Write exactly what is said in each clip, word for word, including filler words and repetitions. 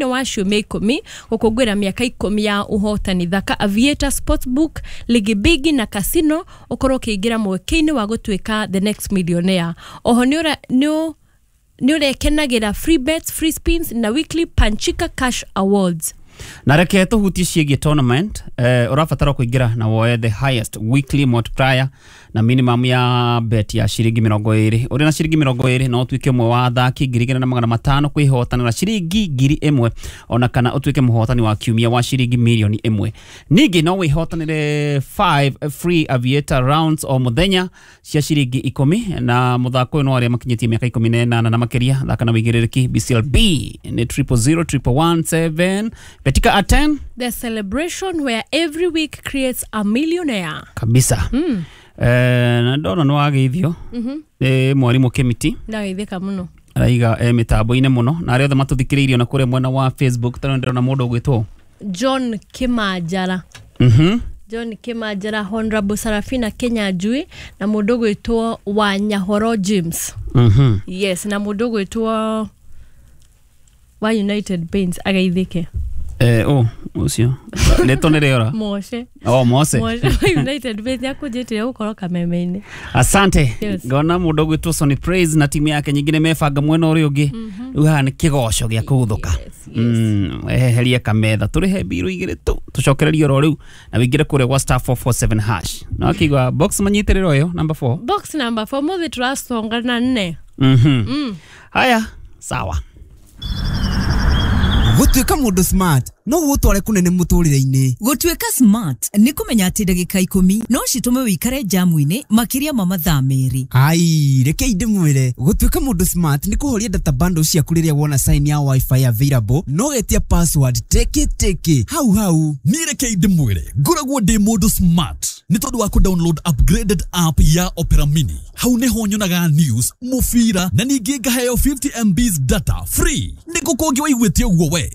Thĩinĩ wa ciumia ikũmi gũkũngũĩra mĩaka ikũmi ya ũhotani, thaka Aviator Sportsbook, Ligi Bigi na Casino, ũkorwo ũkĩingĩra mweke-inĩ wa gũtuĩka the next millionaire. Oho nĩ ũra- nĩ ũ- nĩ ũrekenagĩra free bets, free spins na weekly Panchika Cash Awards. Na reke tũhutie ciĩgiĩ tournament. eh, ũrabatara kũingĩra na woe the highest weekly multiplier na minimum ya bet ya ciringi mĩrongo ĩrĩ. Ũrĩ na ciringi mĩrongo ĩrĩ no ũtuĩke ũmwe wa athaki ngiri igĩrĩ na magana matano kwĩhotanĩra ciringi ngiri ĩmwe, ona kana ũtuĩke mũhotani wa kiumia wa ciringi mirioni ĩmwe. Ningĩ no wĩhotanĩre five free Aviator rounds o mũthenya cia ciringi ikũmi. Na mũthako ũyũ no arĩa makinyĩtie mĩaka ikũmi na ĩnana na makĩria. Thaka na wĩigĩrĩrĩki. B C L B nĩ triple zero triple one seven. Betika at ten. The celebration where every week creates a millionaire. Kabisa mm. Eh, na ndona nĩ wageithio nĩ mwarimũ Kĩmiti. Ndageithĩka mũno. Araiga e mĩtambo-inĩ mũno, na arĩa othe matũthikĩrĩirie na kũrĩa mwena wa Facebook, tondũ ndĩrona mũndũ ũgwĩtwo John Kĩmanjara. Mhm John Kĩmanjara, Honorable Sarafina Kenyanjui, na mũndũ ũgwĩtwo Wanyahoro James. Mhm yes, na mũndũ ũgwĩtwo wa United Paints ageithĩke. Eh, oh, ũcio rĩtwa nĩ rĩora. Moshe. Oh, Mose. Moshe wa United Paints akũnjĩtire gũkorwo kameme-inĩ. Asante. Yes. Ngona mũndũ ũgwĩtwo Sonny Praise na timu yake nyingĩ nĩ mebanga mwena ũrĩa ũngĩ. Rĩu haha nĩ kĩgoco gĩa kũguthũka. Yes, yes. Mm, eherie kametha, tũrĩhe mbirũ igĩrĩ tu, tũcokererie oro rĩu na wĩingĩre kũrĩa gwa star four four seven hash na wakĩigua box manyitĩrĩro ĩyo number four. Box number four, mũthĩ tũraconga na nne. Mhm haya, sawa. Gũtuĩka mũndũ smart no gũgũtware kũnene mũtũrĩre-inĩ. Gũtuĩka smart nĩ kũmenya atĩ ndagĩka ikũmi no citũme wĩikare jamu-inĩ makĩria ma mathaa merĩ. Ai, rekei ndĩmwĩre, gũtuĩka mũndũ smart nĩ kũhoria data bundle ciaku rĩrĩa wona sign ya WiFi available, no getia password teke teke hau hau. Niĩ rekei ndĩmwĩre, ngoragwo ndĩ mũndũ smart nĩ tondũ wa kũdownload upgraded app ya Opera Mini. Hau nĩho nyonaga news, mũbira, na ningĩ ngaheo fifty M Bs data free. Nĩ kũ kũngĩ waiguĩte ũguo we?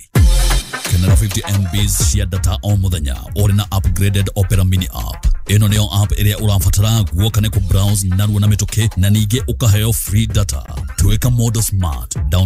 Kenera fifty M Bs cia data o mũthenya ũrĩ na upgraded Opera Mini app. Ĩno nĩyo app ĩrĩa ũrabatara guoka nĩ kũ browse narua na mĩtũkĩ, na ningĩ ũkaheo free data. Tuĩka mũndũ smart. Download